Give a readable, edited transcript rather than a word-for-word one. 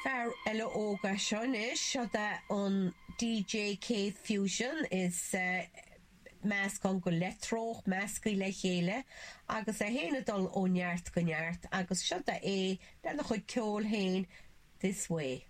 Fear eile óg é seo anois, seo é an DJ K-Fusion, is meascán go leictreonach measctha le chéile agus é féin ag dul ó neart go neart agus seo é lena chuid ceoil féin, This Way.